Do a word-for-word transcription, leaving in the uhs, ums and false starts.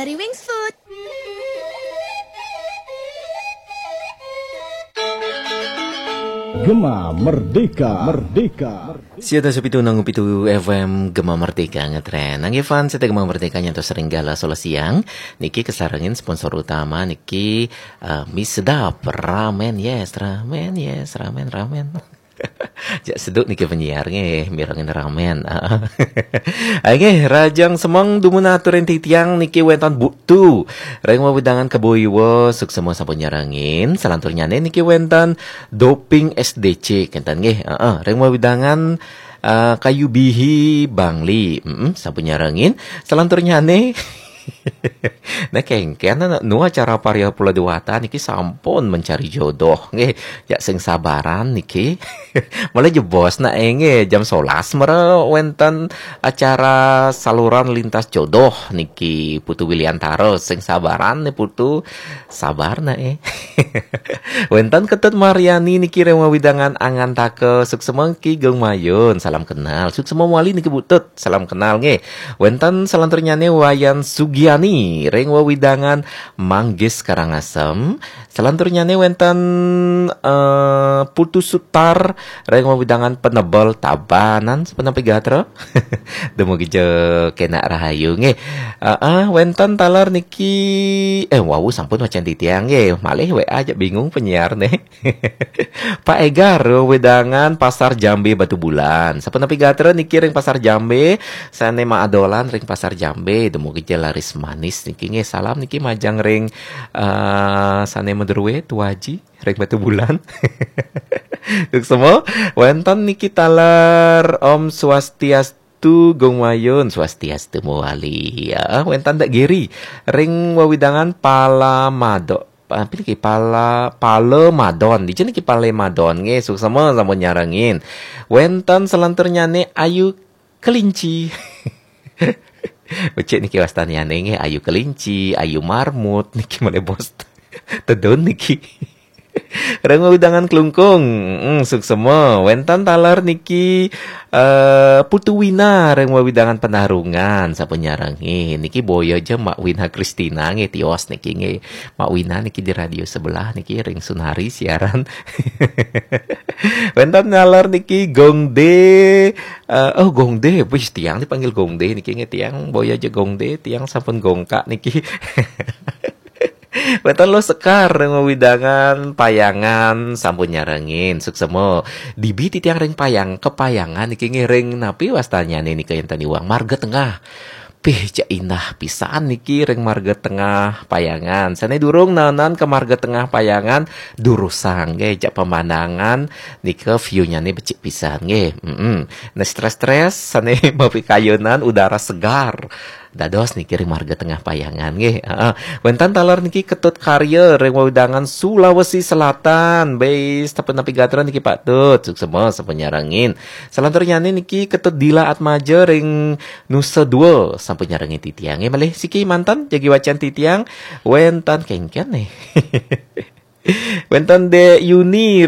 Dari Wings Food. Gema Merdeka, Merdeka. Sia dasa pitu nang pitu F M Gema Merdeka ngetren. Nang Evan, saya Gema Merdeka nyantos ring galah solas siang. Niki kasarengin sponsor utama niki, eh, Mi Sedap Ramen, yes, ramen, yes, ramen, ramen. Jak seduk niki penyiar nggih, mirengin ramen. Nggih, rahajeng semeng dumun atur ring titiang niki wenten Bu Tu. Ring wewidangan Kebo Iwa, suksma sampun nyarengin. Salanturnyane niki wenten Doping S D C, kenten nggih. Heeh, ring wewidangan, eh, Kayu Bihi Bangli. Mm-mm, sampun nyarengin. Salanturnyane Nah, kengken nu acara Paria Pulo Dewata niki sampun mencari jodoh nggih. Ya sing sabaran niki. Malah jebos nak nggih jam solas mara wenten acara saluran lintas jodoh niki Putu Wiliantara, sing sabaran nih Putu. Sabar nak eh. Wenten Ketut Mariani niki ring wewidangan Angantaka, suksma Ki Gung Mayun, salam kenal. Suksma Wali niki Bu Tut, salam kenal nggih. Wenten salanturnyane Wayan Sugiani ring wewidangan Manggis Karangasem. Salanturnyane wenten, eh, Putu Sutar ring wewidangan Penebel Tabanan, sapunapi gatra. Dumugi ja kenak rahayu nggih. Heeh, wenten taler niki, eh, wau sampun wacen titiang nggih. Malih W A aja bingung penyiar nih. Pak Egar, wewidangan Pasar Jambe Batubulan. Sapunapi gatra niki ring Pasar Jambe, sane maadolan ring Pasar Jambe, dumugi ja laris manis niki nggih. Salam niki majeng ring, eh, sane madruwe Tuaji ring Batubulan. Suksma, wenten niki taler Om Swastiastu Gung Mayun, Swastiastu Mawali. Ya, wenten Dak Giri ring wewidangan Palamado. Apa niki Pala, Palemadon. Dija niki Palemadon nggih, suksma sampun nyarengin. Wenten salanturnyane Ayu Kelinci. Becik niki wastanyane nggih, Ayu Kelinci, Ayu Marmut niki malih bos. Tedun niki. Ring wewidangan Klungkung, mm, suksma. Wenten taler niki, eh, Putu Wina ring wewidangan Penarungan, sampun nyarengin. Niki boya ja Mak Wina Kristina nggih tios niki nggih. Mak Wina niki di radio sebelah niki ring Sunari siaran. Wenten taler niki Gong D, eh, oh Gong D, wis tiang dipanggil Gong D niki nggih tiang boya ja Gong D, tiang sampun gongkak niki. Wenten Luh Sekar ring wewidangan Payangan sampun nyarengin, suksma. Dibi titiang ring Payang, Kepayangan niki nggih ring napi wastanyane nika enten iwang Marga Tengah. Pih, cak indah pisan niki ring Marga Tengah Payangan. Sane durung naenan ka Marga Tengah Payangan, durusang nggih, cak pemandangan nika view-nyane becik pisan nggih. Mm-mm. Nah, stres-stres sane mapikayunan udara segar. Dados niki ring Marga Tengah Payangan nggih. Heeh. Wenten taler niki Ketut Karya ring wewidangan Sulawesi Selatan. Be, sapunapi gatra niki Pak Tut. Suksma sampun nyarengin. Salanturnyane niki Ketut Dila Atmaja ring Nusa Dua sampun nyarengin titiang. Nggih, malih siki manten jagi wacen titiang. Wenten kengken nih. Wenten Dek Yuni